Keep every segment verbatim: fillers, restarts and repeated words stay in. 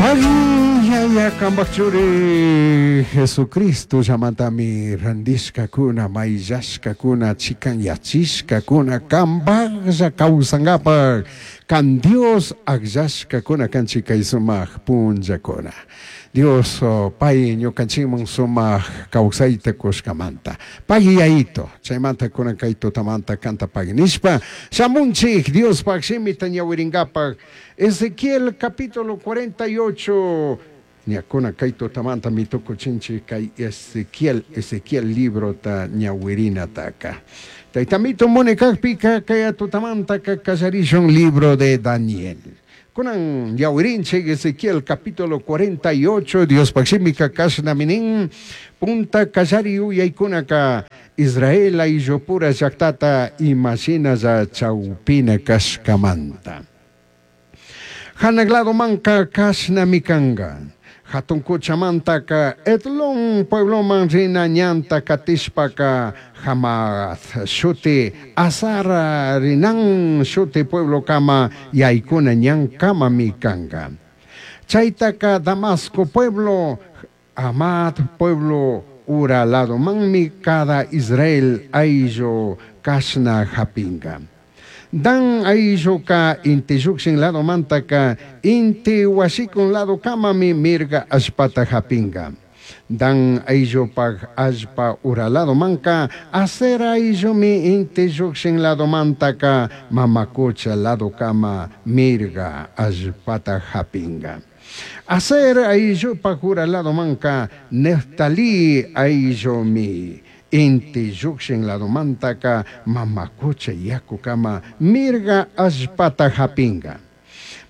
Pagui kambaj churi Jesucristo llamantami randishkakuna mayllashkakuna chikanyachishkakuna kambajlla kawsankapak kan Dios akllashkakuna kanchik kay sumak punllakuna. Dios pay ñukanchikman sumak kawsayta kushkamanta pay yayito chaymanta kunan kay tutamanta kanta pagui nishpa shamunchik Diospaj shimita ñawirinkapak. Ezequiel capítulo cuarenta y ocho ñakuna kay tutamanta mitukuchinchik kay Ezequiel Ezequiel librota ñawirinataka. Taytamito munikakpika kay tutamanta kallarishun libro de Daniel. Kunan ñawirinchik Ezequiel capítulo cuarenta y ocho Diospaj shimika kashnaminin punta kallari yuyaykunaka Israel ayllupura llaktata imashinalla chawpina kashkamanta. Hanaq ladomanka kashnami kanka. Hatun kuchamantaka Etlón puebloman rina ñanta katishpaka Hamat shuti Azar rinan shuti pueblokama yaykuna ñankamami kanka. Chaytaka Damasco pueblo Hamat pueblo ura ladomanmi cada Israel ayllu kashna hapinka. Dan aylluka inti llukshin ladomantaka inti washikun ladokamami mirga allpata hapinka. Dan ayllupaj allpa ura ladomanka Aser ayllumi inti llukshin ladomantaka mamakucha ladokama mirga allpata hapinka. Aser ayllupaj ura ladomanka Neftali ayllumi inti llukshin ladomantaka mamakucha yakukama mirga allpata hapinka.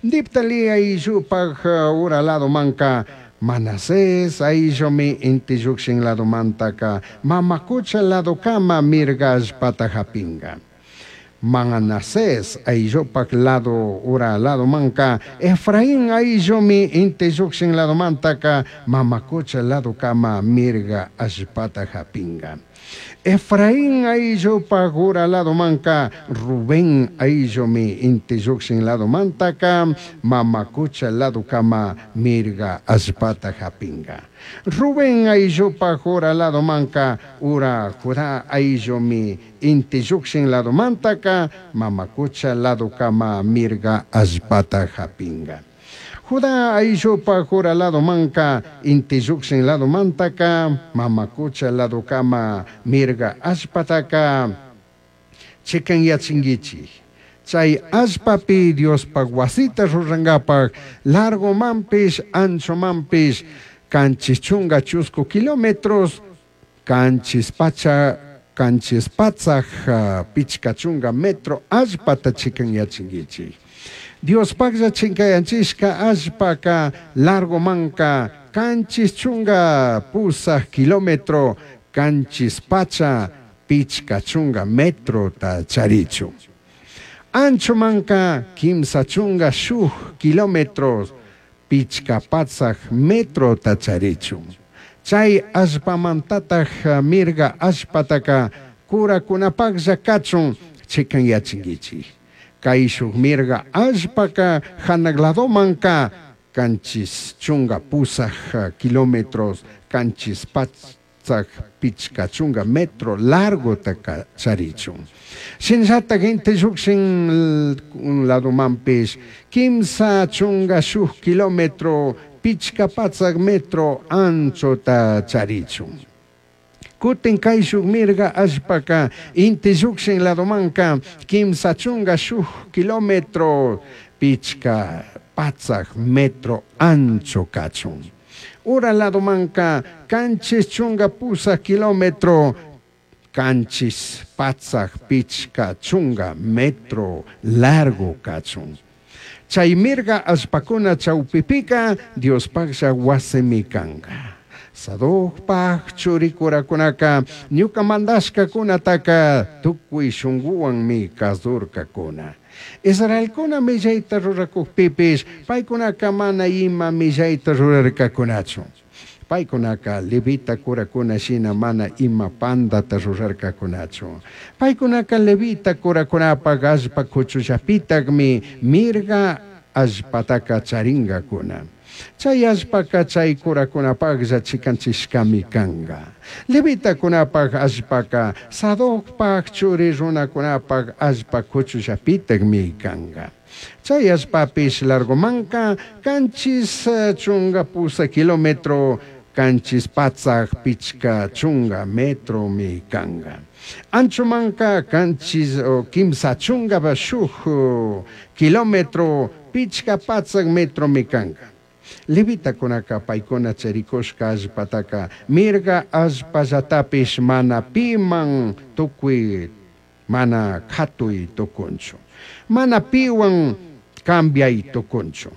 Neftali ayllupaj ura ladomanka Manasés ayllumi inti llukshin ladomantaka mamakucha ladokama mirga allpata hapinka. Manasés ayllupaj lado ura ladomanka Efraín ayllumi inti llukshin ladomantaka mamakucha ladokama mirga allpata hapinka. Efraín ayllupaj ura ladomanka Rubén ayllumi inti llukshin ladomantaka mamakucha ladokama mirga allpata hapinka. Rubén ayllupaj ura ladomanka ura Judá ayllumi inti llukshin ladomantaka mamakucha ladokama mirga allpata hapinka. Judá ayllupaj ura ladomanka inti llukshin ladomantaka mamakucha ladokama mirga allpataka chikanyachinkichik. Chay allpapi Diospaj wasita rurankapak largomanpish anchomanpish kanchis chunka chusku kilómetros kanchis pacha kanchis patsaj pichka chunka metro allpata chikanyachinkichik. Diospajlla chinkayanchishka allpaka largomanka kanchis chunka pusaj kilómetro kanchis pacha pichka chunka metrota charichu. Anchomanka kimsa chunka shuj kilómetros pichka patsaj metrota charichu. Chay allpamantataj mirga allpataka kurakunapajlla kachun chikanyachinkichik. Kay shuk mirga allpaka hanaq ladomanka kanchis chunka pusaj kilómetros kanchis patsaj pichka chunka metro largotaka charichun. Shinllatak inti llukshin ladomanpish kimsa chunka shuk kilómetro pichka patsaj metro anchota charichun. Kutin kay shuk mirga allpaka inti llukshin ladomanka kimsa chunka shuk kilómetro pichka patsaj metro ancho kachun. Ura ladomanka kanchis chunka pusaj kilómetro kanchis patsaj pichka chunka metro largo kachun. Chay mirga allpakuna chawpipika Diospajlla wasimi kanka. Sadokpaj churikurakunaka ñuka mandashkakunataka tukuy shunkuwanmi kasurkakuna. Israelkuna millayta rurakukpipish paykunaka mana ima millayta rurarkakunachu. Paykunaka levita kurakuna shina mana ima pandata rurarkakunachu. Paykunaka levita kurakunapaj allpa kuchullapitaqmi mirga allpataka charinkakuna. Chay allpaca chay curakunapaqlla chikanchishkami kanqa. Levitakunapaq allpaca Sadocpaq churi runakunapaq allpa kuchullapitaqmi kanqa. Chay allpapish largomanka kanchis chunka pusaq kilómetro kanchis patsaq pichqa chunka metromi kanqa. Anchomanka kanchis kimsa chunka shuk kilómetro pichqa patsaq metromi kanqa. Levitakunaka paykuna charikushka allpataka mirga allpallatapish mana piman tukuy mana katuy tukunchu. Mana piwan cambiay tukunchu.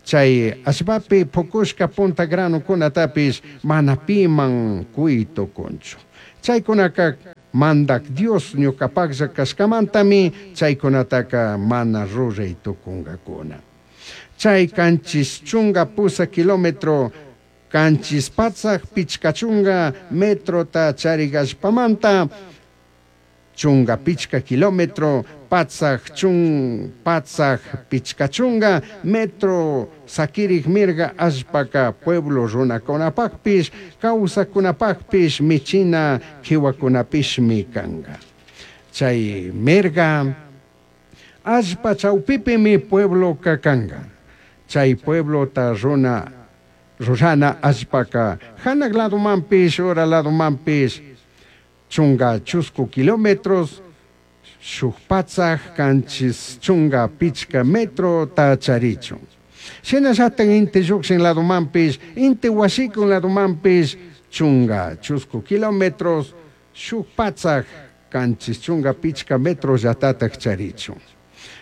Chay allpapi pukushka punta granukunatapish mana piman kuy tukunchu. Chaykunaka mandak Dios ñuqapaqlla kashkamantami chaykunataka mana ruray tukunkakuna. Chay kanchis chunka pusaq kilómetro kanchis patsaq pichqa chunka metrota charik allpamanta chunka pichqa kilómetro patsaq chun patsaq pichqa chunka metro sakirik mirga allpaka pueblo runakunapaqpish kawsaqkunapaqpish michina qiwakunapishmi kanqa. Chay mirga allpa chawpipimi puebloka kanqa. Chay pueblota runa rurana allpaka hanaq ladomanpish ura ladomanpish chunka chusku kilómetros shuk patsaq kanchis chunka pichqa metrota charichun. Shinallatak inti lluqshin ladomanpish inti wasikun ladomanpish chunka chusku kilómetros shuk patsaq kanchis chunka pichqa metrollatataq charichun.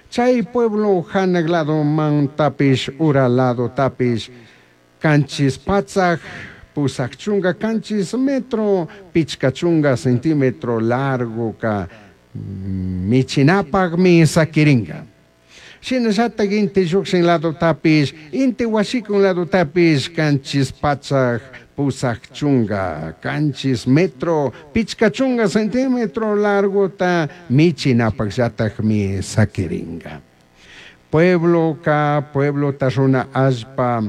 Chay pueblo hanaq ladomantapish ura ladotapish kanchis patsaq pusaq chunka kanchis metro pichqa chunka centímetro largoka michinapaqmi sakirinqa. Shinallatak inti lluqshin ladotapish inti wasikun ladotapish kanchis patsaq pusaq chunka kanchis metro pichqa chunka centímetro largota michinapaqllataqmi sakirinqa. Puebloka pueblota runa allpa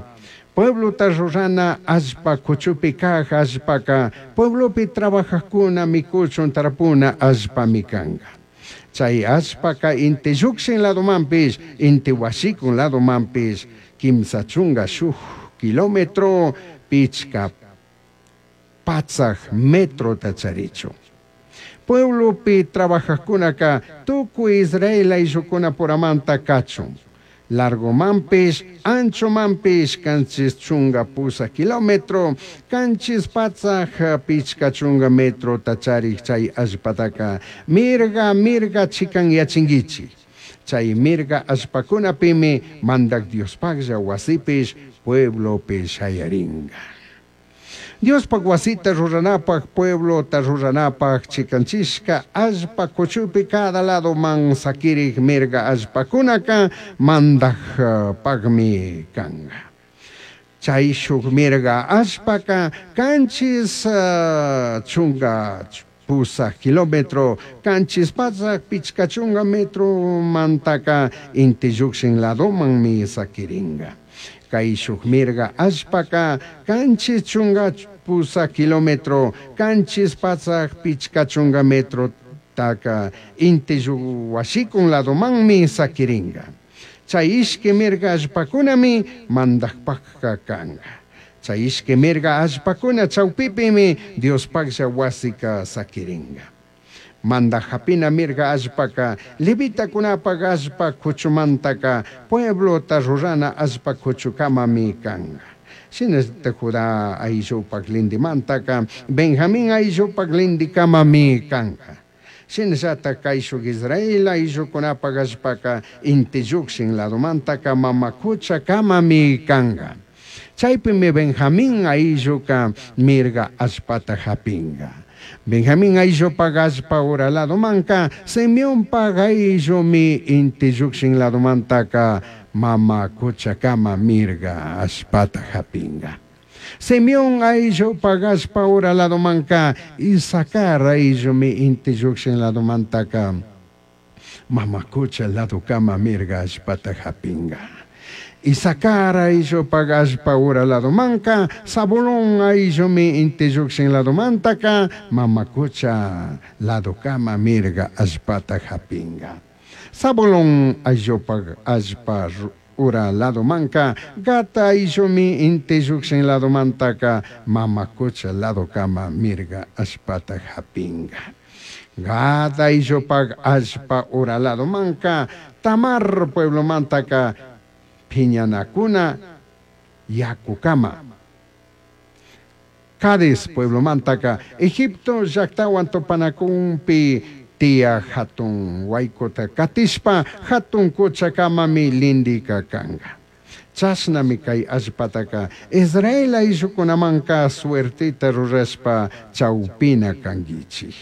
pueblota rurana allpa kuchupi kaq allpaka pueblopi trabajaqkuna mikuchun tarpuna allpami kanqa. Chay allpaka inti lluqshin ladomanpish inti wasikun ladomanpish kimsa chunka shuk kilómetro pichqa patsaq metrota charichun. Pueblopi trabajaqkunaka tukuy Israel ayllukunapuramanta kachun. Largomanpish anchomanpish kanchis chunka pusaq kilómetro kanchis patsaq pichqa chunka metrota charik chay allpataka mirga mirga chikanyachinkichik. Chay mirga allpakunapimi mandak Diospaqlla wasipish pueblopi shayarinqa. Diospaq wasita ruranapaq pueblota ruranapaq chikanchishka allpa kuchupi cada ladoman sakirik mirga allpakunaka mandaqpaqmi kanqa. Chay shuk mirga allpaka kanchis uh, chunka pusaq kilómetro kanchis patsaq pichqa chunka metro mantaka inti lluqshin ladomanmi sakirinqa. Kay shuk mirga allpaka kanchis chunka pusaq kilómetro kanchis patsaq pichqa chunka metro taka inti wasikun ladomanmi sakirinqa. Chay ishki mirga allpakunami mandaqpaqqa kanqa. Chay ishki mirga allpakuna chawpipimi Diospaqlla wasika sakirinqa. Mandaq hapina mirga allpaka levitakunapaq allpa kuchumantaka pueblota rurana allpa kuchukamami kanqa. Shinallata Judá ayllupaq lindimantaka Benjamín ayllupaq lindikamami kanqa. Shinallata kayshuk Israel ayllukunapaq allpaka inti lluqshin ladomantaka mama kuchakamami kanqa. Chaypimi Benjamín aylluka mirga allpata hapinqa. Benjamín ayllupaq allpa ura ladomanka Simeonpaq ayllumi inti lluqshin ladomantaka mama kuchakama mirga allpata hapinqa. Simeón ayllupaq allpa ura ladomanka Isacar ayllumi inti lluqshin ladomantaka mama kucha ladokama mirga allpata hapinqa. Isacar ayllupaj allpa ura ladomanca, Zabulón ayllumi inti llukshin ladomantaka mama cucha ladokama mirga allpata japinga. Zabulón ayllupaj allpa ura ladomanca, Gad ayllumi inti llukshin ladomantaka mama cucha ladokama mirga allpata japinga. Gad ayllupaj allpa ura ladomanca, Tamar pueblomantaka piñanakuna yakukama. Cades pueblomantaka Egipto llaktawan tupanakunpi tiya hatun waykota katishpa hatun kuchakamami lindika kanga. Chashnami kay allpataka Israel ayllukunamanka suertita rurashpa chawpina kankichik.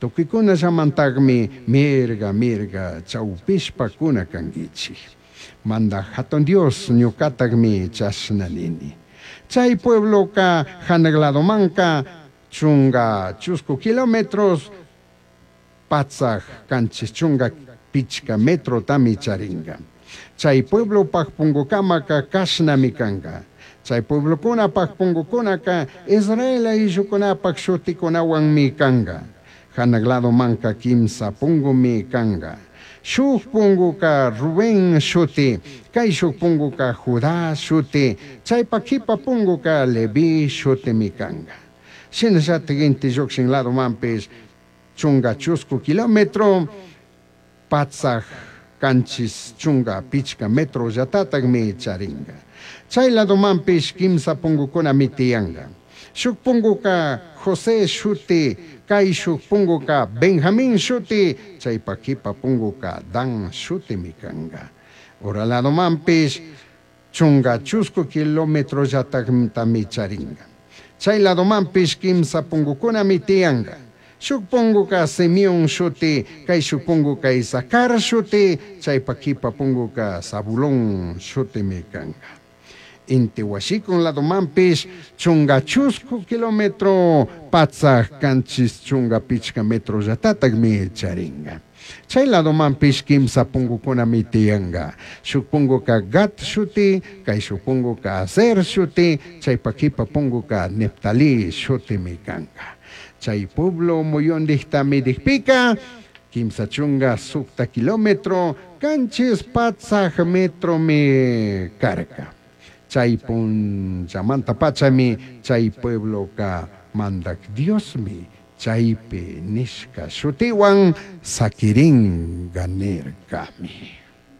Tukuykunallamantakmi mirga mirga chawpishpa kuna kankichik. Manda hatun Dios ñukatakmi chashna nini. Chay puebloka hanaq ladomanka chunga chusku kilómetros patsaj kanchis chunga pichka metrotami charinga. Chay pueblopaj pungukamaka kashnami kanga. Chay pueblokunapaj pungukunaka Israel ayllukunapaj shutikunawanmi kanga. Hanaq ladomanka kimsa pungumi kanga. Shuk punguka Rubén shuti, kay shuk punguka Judá shuti, chaypa kipa punguka Leví shutimi kanga. Shinallatik inti llukshin ladomanpish chunga chusku kilómetro, patsaj kanchis chunga pichka metro llatatakmi charinga. Chay ladomanpish kimsa pungukunami tiyanga. Shuk punguka José shuti, kay shuk punguka Benjamín shuti, chaypa kipa punguka Dan shutimi kanga. Ura ladomanpish chunga chusku kilómetro llataktami charinga. Chay ladomanpish kimsa pungukunami tiyanga. Shuk punguka Simeón shuti, kay shuk punguka Isacar shuti, chaypa kipa punguka Zabulón shutimi kanga. Inti washikun ladomanpish chunga chusku kilómetro patsaj kanchis chunga pichka metro llatatakmi charinga. Chay ladomanpish kimsa pungukunami tiyanga. Shuk punguka Gad shuti, kay shuk punguka Aser shuti, chaypa kipa punguka Neftalí shutimi kanga. Chay pueblo muyundikta midikpika, kimsa chunga sukta kilómetro, kanchis patsaj metromi karka. Chay punchamanta pachami, chay puebloka mandak Diosmi, chaypi nishka shutiwan sakiringa nirkami.